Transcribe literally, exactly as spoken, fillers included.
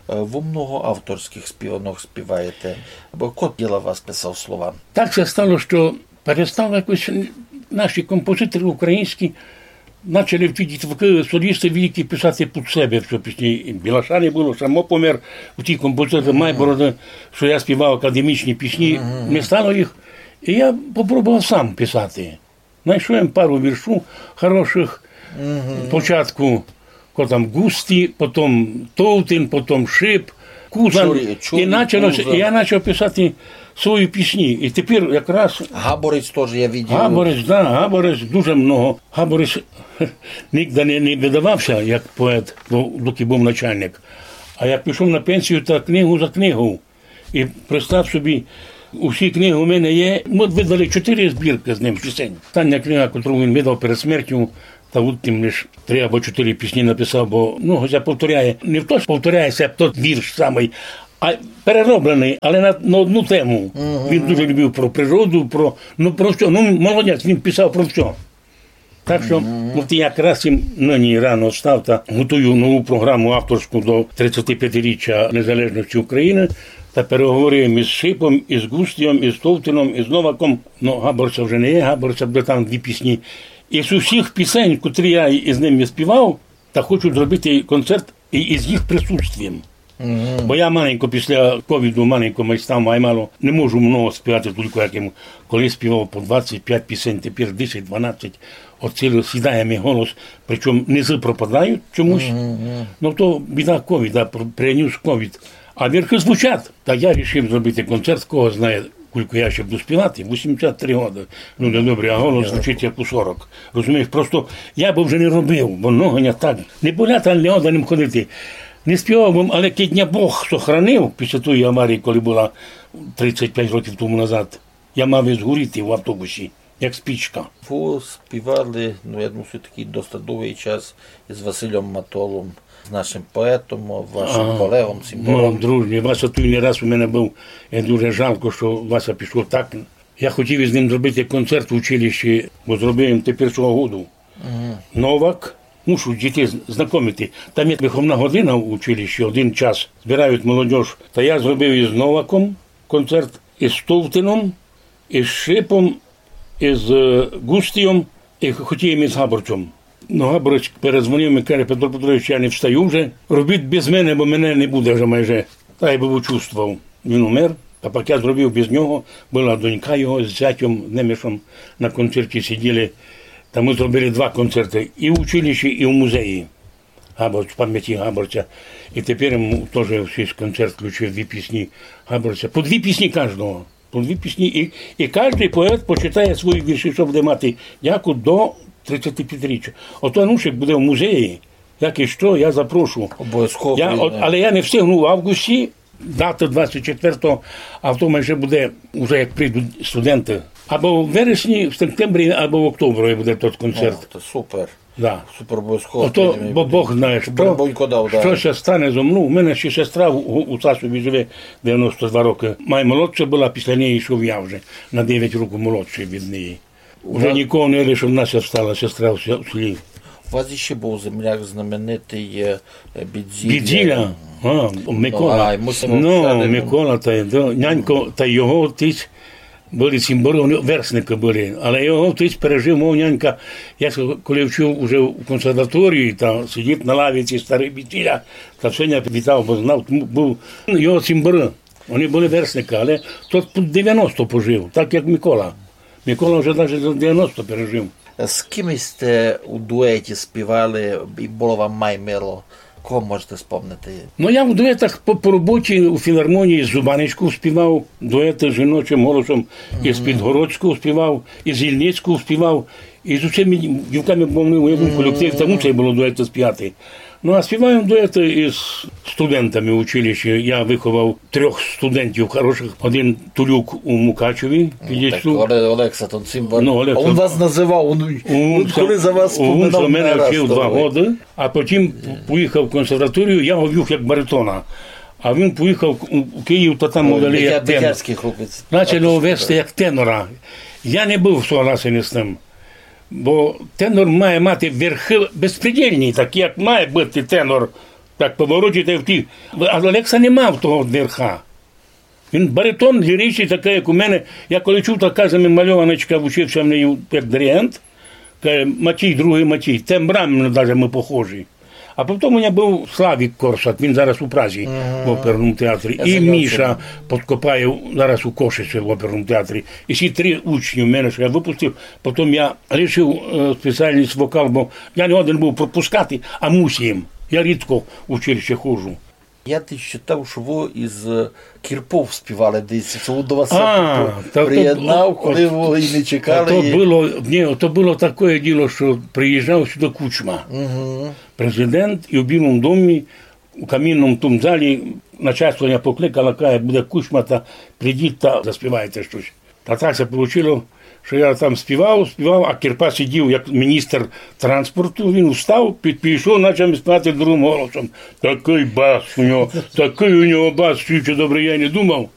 Е, вы много авторськых співанок співаєте. Бо ко діла вас писав слова? Так ся стало, што перестали якось наші композиторы українські, начали ті дітвакы, солісты великі писати під себе всьо пісні. І Білаша не было, само помер, у ті композиторы Майбороды, што я співав академічні пісні, не стало їх. І я попробовав сам писати. Найшов им пару віршу хорошых. Спочатку, ко там Густі, потом Товтин, потом Шип, Кузан. Чурі-, Чурі, І начало ся, Кузан. Я начав писати свої пісні. І тепер якраз Габорець тоже я видів. Габорець, да, Габорець дуже много. Габорець нігде не, не выдавав ся як поет, бо доки быв начальник. А як пішов на пенсію, та книгу за книгов. І представ собі, усі книгы у мене є. Мы выдали чотыри збіркы з ним пісень. Остання книга, котру він выдав перед смертю, та у тім лиш три або чотыри пісні написав, бо, ну, ся повторяє. Не то, што повторяє ся тот вірш самый, а переробленый, але на, на одну тему. Він дуже любив про природу, про, ну, про всьо. Ну, молодець, він писав про всьо. Так што, от якраз им нині рано встав та готую нову програму авторську до тридцятипятиріччя незалежности Україны, та переговорив им із Шипом, із Густієм, із Товтином, із Новаком. Ну, Габорця вже не є, Габорця буде там дві пісні. Із усіх пісень, котрі я із ними співав, та хочу зробити концерт і із їх присутствієм. Бо я маленько після ковіду, маленько май став, май мало, не можу много співати, тілько як им колись співав по двадцять пять пісень, тепер десять, дванадцять, от ціле сідає ми голос, причому низы пропадають чомусь. Ну, то біда ковіда, пр-, принюс ковід. А верхы звучать. Та я рішив зробити концерт, кого знає, кулько я ще буду співати, вісімдесят три годы. Ну, не добре, а голос звучить як у сорок. Розумієш, просто я бы вже не робив, бо ноги не так. Не болять, а не годен им ходити. Не співав бы, але кидь ня Бог сохранив після тої аварії, коли была тридцять пять років тому назад, я мав і згоріти в автобусі, як спічка. Вы співали, ну, я думаю, всьо-таки доста довгый час із Васильом Матолом, з нашим поетом, вашим Ага. Колеґом, Ну, цімбалом. Дружні, Вася туй не раз у мене быв. І дуже жалко, што Вася пішов так. Я хотів із ним зробити концерт в училищі, бо зробив им тепер свого году. Новак, мушу дітей з-, знакомити. Там є виховна година в училищі, один час збирають молодіж. Та я зробив із Новаком концерт, із Товтином, із Шипом, із, е, Густієм, і хотів им із Габорцьом. Но Габорець перезвонив ми, каже: «Петро Петрович, я не встаю вже. Робіть без мене, бо мене не буде вже майже». Та я бы учувствовав. Він умер, а пак я зробив без нього. Была донька його з зятьом Немешом на концерті сиділи. Та мы зробили два концерты. І в училищі, і в музеї. Габорць, в памяти Габорця. І тепер им тоже в свій концерт включив дві пісні Габорця. По дві пісні каждого. По дві пісні. І, і каждый поет почитає свої вірші, што буде мати дяку до тридцятипятиріччя. Ото Анушик буде в музеї. Як і што, я запрошу. Обовязково Я, прийде. от, але я не встигну в августі, дати двадцять четвертого, а в тому ще буде, уже як прийдуть студенты. Або в вересні, в сентябрі, або в октябрі буде тот концерт. О, то супер. Да. Супер, обовязково Ото, прийдемо і бо буде. Бог знає, Буде што, Бонько дав, да. што ся стане зо мнов. У мене ще сестра у, у, у Сасові живе девяносто два рокы. Май молодша была, після неї йшов я вже, на девять років молодшый від неї. Уже Да. нікого не є, лише одна ся остала, сестра в ся-, в селі. У вас іщи быв земляк знаменитый, е, е, Бідзіля. Бідзіля? А, Микола. Ну, ай, мусимо Ну, встати. Микола, та й, да, нянько, та його отець были цімборы, они верстникы были. Але його отець пережив, мов нянька. Я с-, коли вчив уже в консерваторії, та сидить на лавиці старый Бідзіля, та всьо ня вітав, бо знав, тому быв його цімборы. Они были верстникы, але тот під девяносто пожив, так як Микола. Микола вже даже за девяносто пережив. З ким сьте у дуеті співали і было вам май мило? Кого можете спомнити? Ну, я в дуетах по, по роботі у філармонії з Зубанечков співав, дуеты з жіночим голосом, і з Підгородськов співав, і з Ільницьков співав, і з усіма дівками, бо мы в одному колективі, там мусить было дуеты співати. Ну, а співаєм дуеты із студентами в училищі. Я выховав трьох студентів хорошых. Один Тулюк у Мукачеві, Ну, так, підійшов. Оле-, Олекса, тот цімбор. Ну, Олекса. А він вас называв, він, він коли за вас споминав, він мене вчив два годы, а потім поїхав в консерваторію, я го вів як баритона. А він поїхав у, у Київ, та там Ой, вели як бетя-, тенор. Бетярськый хлопець. Начали го вести як тенора. Я не быв согласен з тым. Бо тенор має мати верхы безпредельні, такі, як має быти тенор. Так поворотите в ті. А Лекса не мав того верха. Він баритон ліричный такый, як у мене. Я коли чув, така же мальованочка, вчив ся в неї як диригент, каже: «Матій, другый Матій, тембрами даже мы похожі». А потом у мене быв Славік Корсак, він зараз у Празі в оперному театрі. І Міша Подкопаєв зараз у Кошиці в оперному театрі. І ці три учні в мене, што я выпустив, потом я рішив, е, спеціаліст вокал, бо я не годен быв пропускати, а мусив. Я рідко в училище ходжу. Я тыж читав, што вы из, е, Кірпов співали десь, што вы до вас... А, ся та то приєднав, бу-, коли от, вы і не чекали, та то і было, ні, то было такоє діло, што приїжджав сюды Кучма, президент, і в Білому домі, у камінному тому залі, начальство мене покликало, каже: «Буде Кучма, та прийдіть та заспівайте штось». Та так ся получило, што я там співав, співав, а Кірпа сидів як міністр транспорту, він устав, під-, підійшов, почав співати другым голосом. Такый бас у нього, такый у нього бас, чоловіче, добрый, я й не думав.